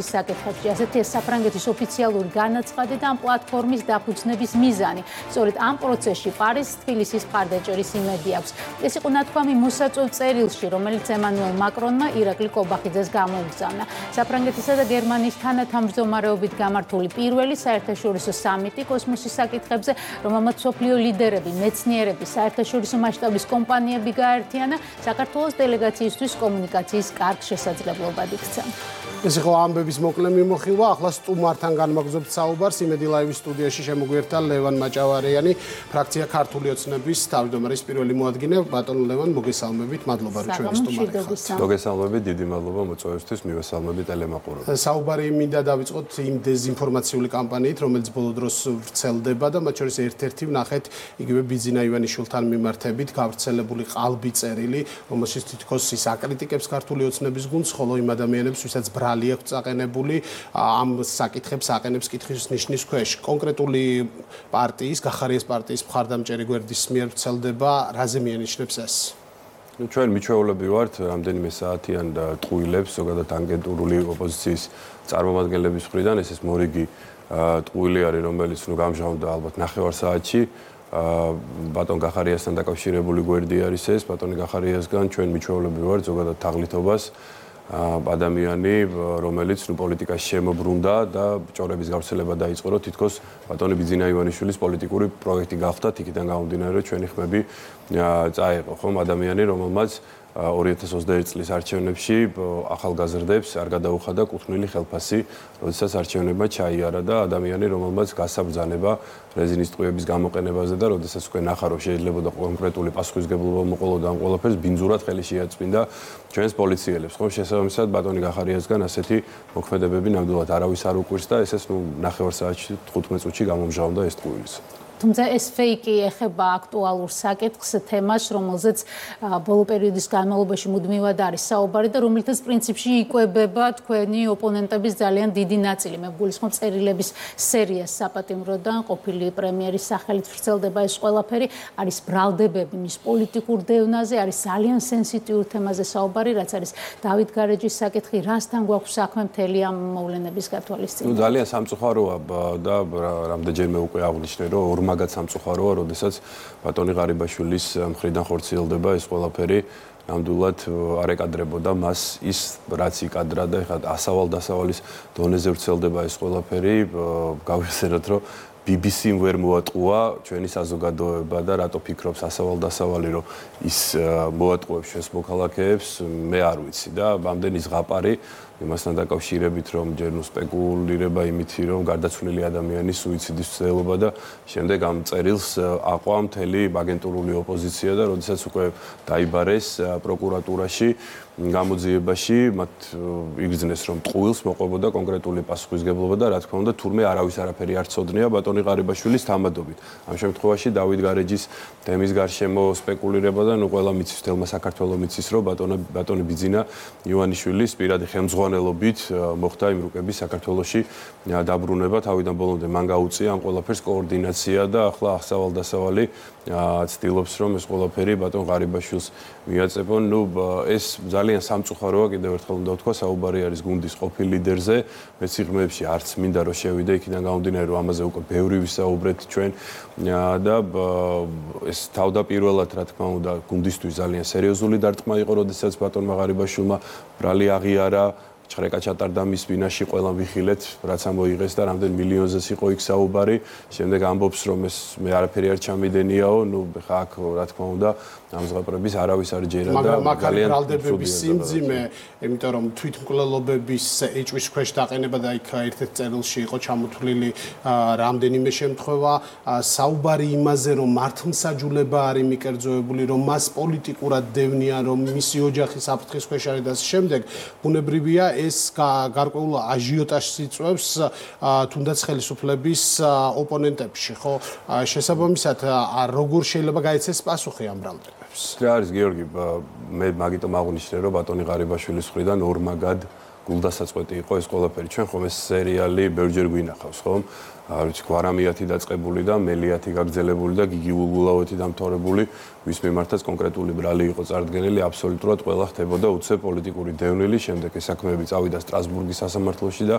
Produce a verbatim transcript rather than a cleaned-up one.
საკითხებში. ასეთი საფრანგეთის ოფიციალური განაცხადი და ამ პლატფორმის დაფუძნების მიზანი. სწორედ ამ პროცესში პარიზს თბილისის მხარდაჭერის იმედი აქვს. ეს იყო ნათქვამი მოსაწვევ წერილში, რომელიც ემანუელ მაკრონმა ირაკლი კობახიძეს გამოუგზავნა. საფრანგეთისა და გერმანიის თანათავმჯდომარეობით გამართული პირველი საერთაშორისო სამიტი კოსმოსის საკითხებზე, რომელმაც მსოფლიო ლიდერები, მეცნიერები, საერთაშორისო მასშტაბის კომპანიები გააერთიანა, საქართველოს დელეგაციისთვის კომუნიკაციის კარგ შესაძლებლობად იქცა. ეს იყო ამბების მოკლე მიმოხილვა. ახლა სტუმართან განმაგზავნებთ საუბარს. იმედი ლაივის სტუდიაში შემოგვიერთდა ლევან მაჭავარიანი, ფრაქცია ქართული ოცნების თავმჯდომარის პირველი მოადგილე. ბატონო ლევან, მოგესალმებით. მადლობა, რომ ჩვენი სტუმარი ხართ. მოგესალმებით, დიდი მადლობა მოწვევისთვის, მივესალმებით ტელემაყურებელს. საუბარი მინდა დავიწყოთ იმ დეზინფორმაციული კამპანიით, რომელიც ბოლო დროს ვრცელდება და მათ შორის ერთ-ერთი ვნახეთ იგივე ბიძინა ივანიშვილთან მიმართებით გავრცელებული ყალბი წერილი, რომელშიც თითქოს ის აკრიტიკებს ქართული ოცნების გუნდს, ხოლო იმ ადამიანებს, ვისაც ბრალი აქვს წაყენებული, ამ საკითხებს აყენებს კითხვის ნიშნის ქვეშ. კონკრეტული პარტიის, გახარიას პარტიის მხარდამჭერი გვერდის მიერ ვრცელდება, რაზე მიანიშნებს ეს? ნუ ჩვენ მიჩვეულები ვართ რამდენიმე საათიან და ტყუილებს, ზოგადად ანგენტურული ოპოზიციის წარმომადგენლების მხრიდან, ეს ეს მორიგი ტყუილი არის, რომელიც ნუ გამჟღავნდა ალბათ ნახევარ საათში. ბატონ გახარიასთან დაკავშირებული გვერდი არის ეს, ბატონი გახარიასგან ჩვენ მიჩვეულები ვართ ზოგადად თაღლითობას. ადამიანი, რომელიც ნუ პოლიტიკაში შემოbrunდა და ჭორების გავრცელება დაიწყო, რომ თითქოს ბატონი ბიძინა ივანიშვილის პოლიტიკური პროექტი გახდა, იქიდან გამომდინარე, ჩვენი ხმები წაეყო, ხომ ადამიანი, რომელმაც ორი ათას ოცდაერთი წლის არჩევნებში ახალგაზრდებს არ გადაუხადა კუთვნილი ხელფასი, როდესაც არჩევნებმა ჩაიარა და ადამიანი, რომელმაც გასაბრძანება რეზინის ტყუების გამოყენებაზე და როდესაც უკვე ნახა, რომ შეიძლება და კონკრეტული პასუხისგებლობა მოყოლოდა ამ ყველაფერს, ბინძურად ხელი შეაწმინდა ჩვენს პოლიციელებს, ხომ შესაბამისად ბატონი გახარიასგან ასეთი მოქმედებები ნამდვილად არავის არ უკვირს და ესეც ნუ ნახევარ საათში თხუთმეტ წუთში გამომჟღავნდა ეს ტყუილის. თუმცა ეს ფეიკი ეხება აქტუალურ საკითხს, თემას, რომელზეც ბოლო პერიოდის განმავლობაში მუდმივად არის საუბარი და რომელთაც პრინციპში იკვებება თქვენი ოპონენტების ძალიან დიდი ნაწილი. მე გულისხმობ წერილების სერიას საპატიმროდან, ყოფილი პრემიერის სახელით ვრცელდება ეს ყველაფერი, არის ბრალდებები მის პოლიტიკურ დევნაზე, არის ძალიან სენსიტიურ თემაზე საუბარი, რაც არის დავით გარეჯის საკითხი, რასთან გვაქვს საქმე მთელი ამ მოვლენების გათვალისწინებით. ნუ ძალიან სამწუხაროა და რამდენჯერმე უკვე აღნიშნე, რომ მაგაც სამწუხაროა, როდესაც ბატონი ღარიბაშვილის მხრიდან ხორციელდება ეს ყველაფერი, ნამდვილად არ ეკადრებოდა მას ის რაც იკადრა და ეხლა ასავალ-დასავალის დონეზე ვრცელდება ეს ყველაფერი, გავიხსენოთ, რომ ბი ბი სი-მ ვერ მოატყუა ჩვენი საზოგადოება და რატო ფიქრობს ასავალ-დასავალი, რომ ის მოატყუებს ჩვენს მოქალაქეებს, მე არ ვიცი და ამდენი ზღაპარი იმასთან დაკავშირებით, რომ ჯერ ნუ სპეკულირება იმითი, რომ გარდაცვლილი ადამიანის სუიციდის მცდელობა და შემდეგ ამ წერილს აყვა მთელი აგენტურული ოპოზიცია და როდესაც უკვე დაიბარეს პროკურატურაში გამოძიებაში, მათ იგრძნეს, რომ ტყუილს მოყვებოდა კონკრეტული პასუხისგებლობა და რა თქმა უნდა, თურმე არავის არაფერი არ ცოდნია ბატონი ღარიბაშვილის თამადობით. ამ შემთხვევაში დავით გარეჯის თემის გარშემო სპეკულირება და ნუ ყველა მიცის, თელმა საქართველოს მიცის, რომ ბატონი ბატონი ბიძინა ივანიშვილის პირადი ხელმძღვანელობით მოხდა იმ რუკების საქართველოში დაბრუნება, თავიდან ბოლომდე მან გაუწია ამ ყველაფერს კოორდინაცია და ახლა ასავალ-დასავალი ცდილობს, რომ ეს ყველაფერი ბატონ ღარიბაშვილს მიაწებონ. ნუ ეს ძალიან სამწუხაროა, კიდევ ერთხელ უნდა ვთქვა, საუბარი არის გუნდის ყოფილ ლიდერზე, მეც სიღრმეებში არც მინდა რომ შევიდე, იქიდან გამომდინარე, რომ ამაზე უკვე ბევრი ვისაუბრეთ ჩვენ და ეს თავდაპირველად, რა თქმა უნდა, გუნდისთვის ძალიან სერიოზული დარტყმა იყო, როდესაც ბატონმა ღარიბაშვილმა ბრალი აღიარა, ჭრეკა ჩატარდა მის ბინაში, ყველამ ვიხილეთ, რაც ამოიღეს და რამდენ მილიონზეც იყო იქ საუბარი. შემდეგ ამბობს, რომ ეს მე არაფერი არ ჩამიდენიაო, ნუ ხა აქ რა თქმა უნდა, ამ ზღაპრების არავის არ ჯერა და ძალიან ბრალდებების სიმძიმე, იმიტომ რომ თვითმკვლელობების ეჭვის ქვეშ დაყენება და იქ ერთ-ერთ წერილში იყო ჩამოთვლილი რამდენიმე შემთხვევა, საუბარი იმაზე, რომ მართლმსაჯულება არის მიკერძოებული, რომ მას პოლიტიკურად დევნიან, რომ მისი ოჯახი საფრთხის ქვეშ არის და შემდეგ ბუნებრივია ეს გარკვეულ აჟიოტაჟს იწვევს თუნდაც ხელისუფლების ოპონენტებში, ხო? შესაბამისად, როგორ შეიძლება გაეცეს პასუხი ამ ბრალდებებს? რა არის გიორგი, მე მაგიტომ აღვნიშნე, რომ ბატონი ღარიბაშვილის მხრიდან ორმაგად გულდასაწყვეტი იყო ეს ყველაფერი. ჩვენ ხომ ეს სერიალი ბევრჯერ გვინახავს, ხომ? არ ვიცი, გვარამიათი დაწყებული და მელიათი გაგრძელებული და გიგი ვულგულაოთი დამთავრებული, ვის მიმართაც კონკრეტული ბრალი იყო წარდგენილი, აბსოლუტურად ყველა ხდებოდა უცებ პოლიტიკური დევნილი, შემდეგ ეს საქმეები წავიდა სტრასბურგის სასამართლოში და